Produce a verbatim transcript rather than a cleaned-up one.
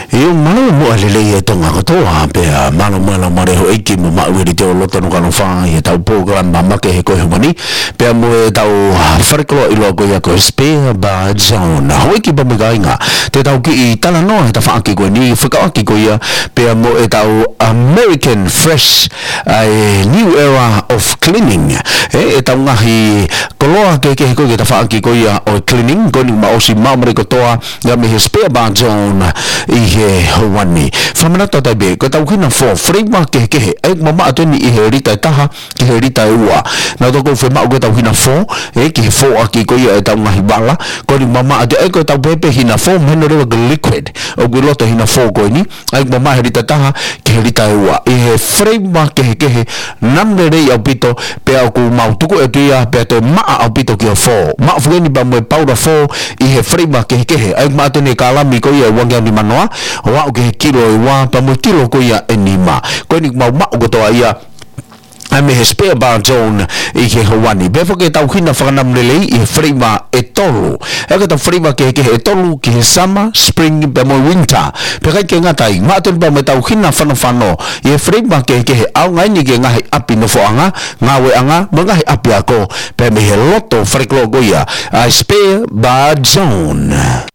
ʻIo, mālō muʻa e lelei ʻa Tonga kotoa, pea mālō muʻa e laumālie ʻo e ʻEiki mo maʻu ʻi he liteʻi loto ʻo e kanofa ʻi heʻetau polokalama makehe ko e ʻaho ni, pea mo ʻetau falekoloa ʻiloa ko ia ko e Spare Bar Zone. Houʻeiki pea mo e kāinga, te tau kiʻi talanoa he tafaʻaki ko eni, fekauʻaki ko ia pea mo ʻetau American Fresh, ʻa e New Era of Cleaning. ʻE, ʻetau ngaahi koloa kehekehe ko ia he tafaʻaki ko ia ʻo e cleaning, ko eni kuo ma ʻosi maʻu mai kotoa ia mei he Spare Bar Zone ʻi he houa ni. Fakamanatu atu pē, ko ʻetau hina fō, flavor kehekehe, ʻa ia ʻoku mamaʻo atu eni ʻi he lita ʻe taha ki he lita ʻe ua. Naʻa tau ʻosi fie maʻu ko ʻetau hina fō, ʻe, ki he fōʻaki ko ia ʻetau ngaahi vala, ko eni kuo mamaʻo atu, ʻa ia ko ʻetau pehē pē hina fō, mahino leva ko e liquid ʻoku ʻi loto hina fō ko eni, ʻa ia ʻoku mamaʻo he lita ʻe taha ki he lita ʻe ua. ʻI he flavor kehekehe, namu lelei ʻaupito, pea ʻoku mau tuku atu ia, pea toe maʻa ʻaupito ki he fō. Maʻu foki eni pea mo e paula fō ʻi he flavor kehekehe. ʻA ia ʻoku maʻu atu eni e kalami ko ia ʻe uangeau nimanoa, ʻo aʻu ki he kilo ʻe ua, pea mo e kilo ko ia ʻe nima. Ko eni ʻoku mau maʻu kotoa ia, ʻa ia mei he Spare Bar Zone ʻi he houa ni. Pea foki ʻetau hina fakanamu lelei ʻi he flavor ʻe tolu. ʻA ia ko ʻetau flavor kehekehe ʻe tolu ki he summer, spring, pea mo e winter. Pea ʻikai ke ngata ai, maʻu atu eni pea mo ʻetau hina fanofano ʻi he flavor kehekehe, ʻaonga eni ki he ngaahi ʻapi nofoʻanga, ngāueʻanga, mo e ngaahi ʻapiako, pea mei he loto falekoloa ko ia ʻa e Spare Bar Zone.